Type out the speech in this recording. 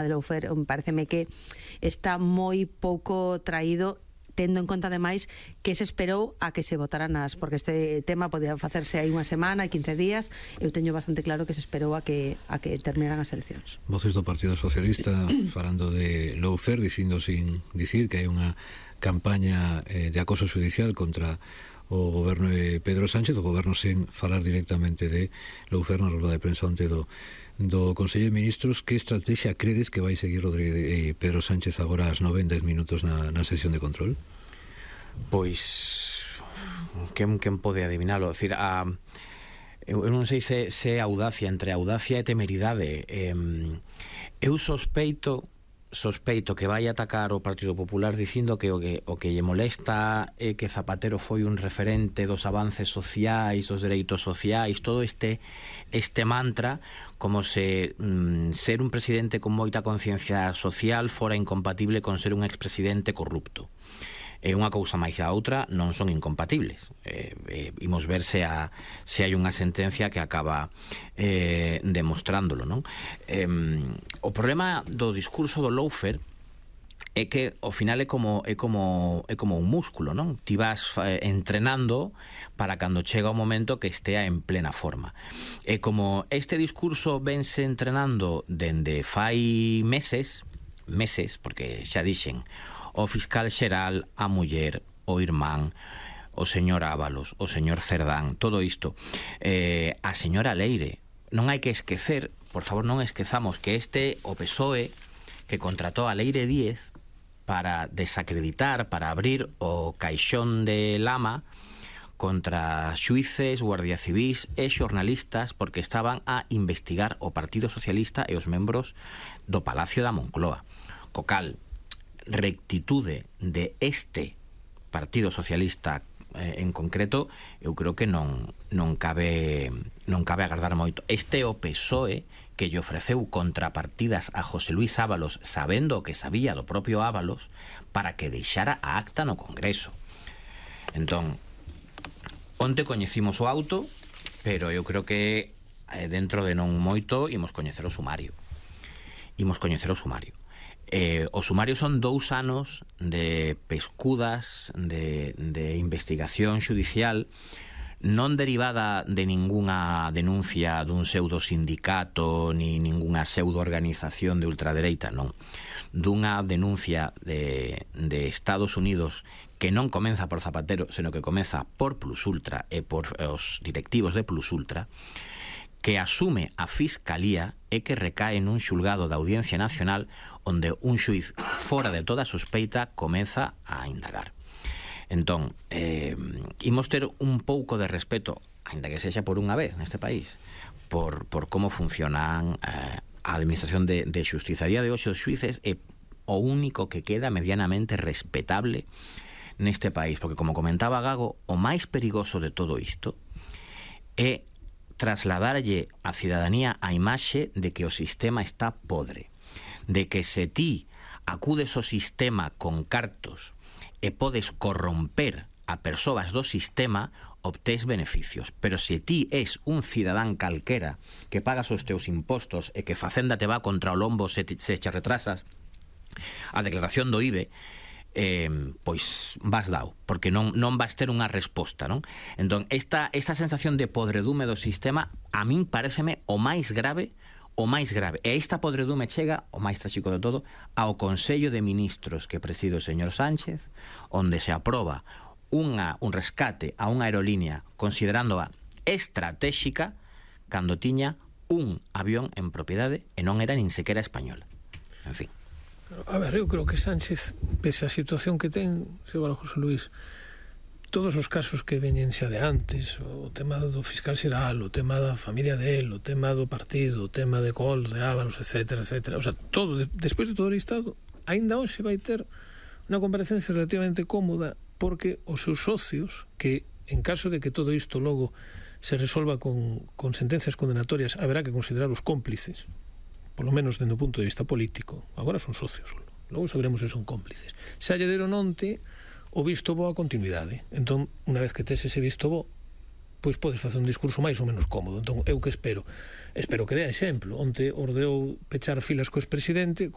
de Loufer, pareceme que está moi pouco traído, tendo en conta ademais que se esperou a que se votaran porque este tema podía facerse aí unha semana, 15 días. Eu teño bastante claro que se esperou a que terminaran as eleccións. Voces do Partido Socialista falando de Loufer, dicindo sin dicir que hai unha campaña de acoso judicial contra o goberno de Pedro Sánchez, o goberno sen falar directamente de Loufer na rueda de prensa onte do Consello de Ministros. Que estrategia credes que vai seguir Pedro Sánchez agora ás 9 en 10 minutos na sesión de control? Pois quen pode adivinalo? Decir, eu non sei se audacia, entre audacia e temeridade. Eu sospeito que vai atacar o Partido Popular dicindo que o que lle molesta é que Zapatero foi un referente dos avances sociais, dos dereitos sociais, todo este mantra, como se ser un presidente con moita conciencia social fora incompatible con ser un expresidente corrupto. Unha cousa máis a outra non son incompatibles. Imos ver se hai unha sentencia que acaba demostrándolo, non? O problema do discurso do Loufer é que ao final é como un músculo, non? Ti vas entrenando para cando chega o momento que estea en plena forma. E como este discurso vense entrenando dende fai meses, porque xa dixen o fiscal xeral, a muller, o irmán, o señor Ábalos, o señor Cerdán, todo isto, a señora Leire. Non hai que esquecer, por favor, non esquezamos que o PSOE que contratou a Leire Díez para desacreditar, para abrir o caixón de lama contra xuíces, guardia civís e xornalistas porque estaban a investigar o Partido Socialista e os membros do Palacio da Moncloa. Co cal, rectitude de este Partido Socialista en concreto, eu creo que non cabe agardar moito. Este é o PSOE que lle ofreceu contrapartidas a José Luis Ábalos, sabendo o que sabía do propio Ábalos, para que deixara a acta no Congreso. Entón, onte coñecimos o auto, pero eu creo que dentro de non moito imos coñecer o sumario. O sumario son 2 anos de pescudas, de investigación xudicial, non derivada de ningunha denuncia dun pseudo sindicato ni ningunha pseudo organización de ultradereita, non. Dunha denuncia de Estados Unidos que non comeza por Zapatero, senón que comeza por Plus Ultra e por os directivos de Plus Ultra, que asume a Fiscalía e que recae nun xulgado da Audiencia Nacional onde un xuiz fora de toda sospeita comeza a indagar. Entón, imos ter un pouco de respeto, aínda que sexa por unha vez neste país, por como funcionan a administración de xustiza. A día de hoxe os xuíces é o único que queda medianamente respetable neste país, porque como comentaba Gago, o máis perigoso de todo isto é trasladarlle á cidadanía a imaxe de que o sistema está podre, de que se ti acudes ao sistema con cartos e podes corromper a persoas do sistema, obtés beneficios. Pero se ti és un cidadán calquera que pagas os teus impostos e que Facenda te va contra o lombo se che retrasas a declaración do IBE, pois vas dao, porque non vas ter unha resposta, non? Entón, esta sensación de podredume do sistema a min pareceme o máis grave. E esta podredume chega, o máis tráxico de todo, ao Consello de Ministros que preside o señor Sánchez, onde se aproba un rescate a unha aerolínea considerándoa estratégica cando tiña un avión en propiedade e non era nin sequera española. En fin. A ver, eu creo que Sánchez, pese a situación que ten, señor José Luis, todos os casos que veñen xa de antes, o tema do fiscal xeral, o tema da familia del, o tema do partido, o tema de Col, de Ábalos, etcétera, etcétera, o sea, todo, despois de todo o listado, aínda hoxe vai ter unha comparecencia relativamente cómoda, porque os seus socios, que en caso de que todo isto logo se resolva con sentencias condenatorias, haberá que considerar os cómplices, polo menos dende o punto de vista político. Agora son socios, logo saberemos se son cómplices. Xa lle deron onte o visto bo a continuidade. Entón, unha vez que tes ese visto bo, pois podes facer un discurso máis ou menos cómodo. Entón, eu que espero que dea exemplo. Onte ordeou pechar filas co expresidente,